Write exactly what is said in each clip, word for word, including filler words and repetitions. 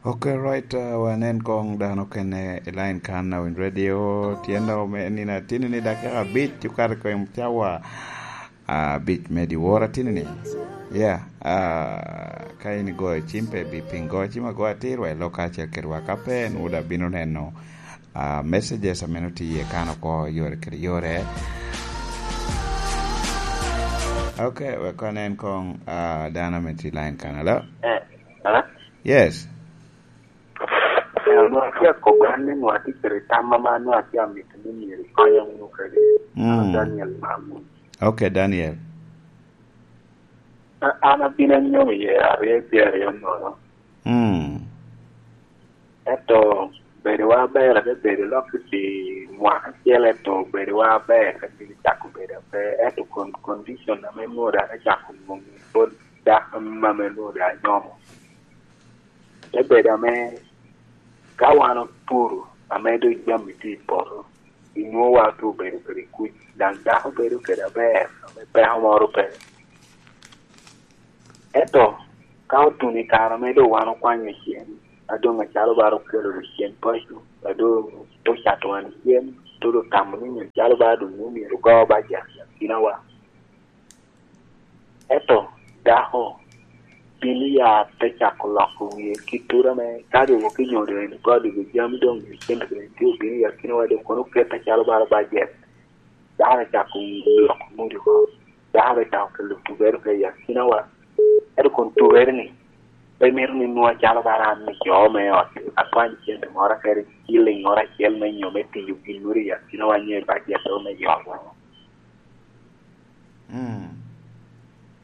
Ok, right, uh, wanen kong dano kene i line kan na winy radio, tyen dok me nino atini ni dakika abic okato i kom cawa abic me dyewor atini ni. Yeah, uh, ka in igoyo cim pe bi piny goyo cim agoya atir wa i lok kacel kedwa, ka pe en wod abino neno, uh, messages a meno tye iye kan oko yore kede yore. Ok, wek wanen kong, uh, dano me tye line kan. Hello? Eh, hello? Yes. Eh, onwongo atye akobo an ni onwongo atye kede tam ame onwongo atye amito ni myero ikonya wunu kede. Mm. An Daniel Mamu. Ok, Daniel. A-, an abino anyomo i aryo i pyeraryo nono. Mm. Ento bedowa aber, ate bedo lok i mwaka acel, ento bedowa aber, ka gin cako bedo aber, ento kon-, condition ame nwoda ate cako nwoŋo pwod dako ame nwoda anyomo. Te bedo ame ka wan opuro, ame doŋ jami tye i poto, inwoŋo wan otye obedo kede kuc, daŋ dako bedo kede aber, ame peko moro pe. Ento ka otuno i kare ame doŋ wan okwanyo cen, a doŋ acalo bara okelo cen paco, a doŋ te ocato wan cen, te doŋ tamo ni nyo calo bara doŋ nwoŋo myero ogo bajet i akinawa. Ento dako bino ya te cako loko wie kittura me kadi wok i nyodo en kodi jami doŋ i cente kede tye obino i akinawa doŋ kono oket acalo bara bajet. Dako te cako loko mudi oko. Dako te cako kelo tugere ka i akinawa. Ento kun tugere ni, pe mito ni nwoŋo acalo bara an ni jo me ot, akwany cente moro kede ciling moro acel me nyo me tiyo gin moro i akinawa nyo i bajet me yot. Mm.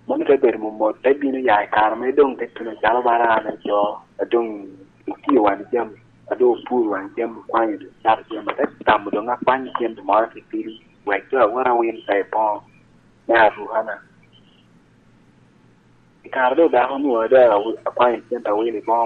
Mano te bedo momot, te bino ya i kare me doŋ te tuno calo bara an aco, a doŋ otio wan jami, a doŋ opuro wan jami, okwanyo doŋ cato jami, te tamo doŋ akwany cente moro titidi, wek doŋ awot awil ka i boŋo me arukana. I kare doŋ dako onwoŋo doŋ awi-, akwanyo cente awil i boŋo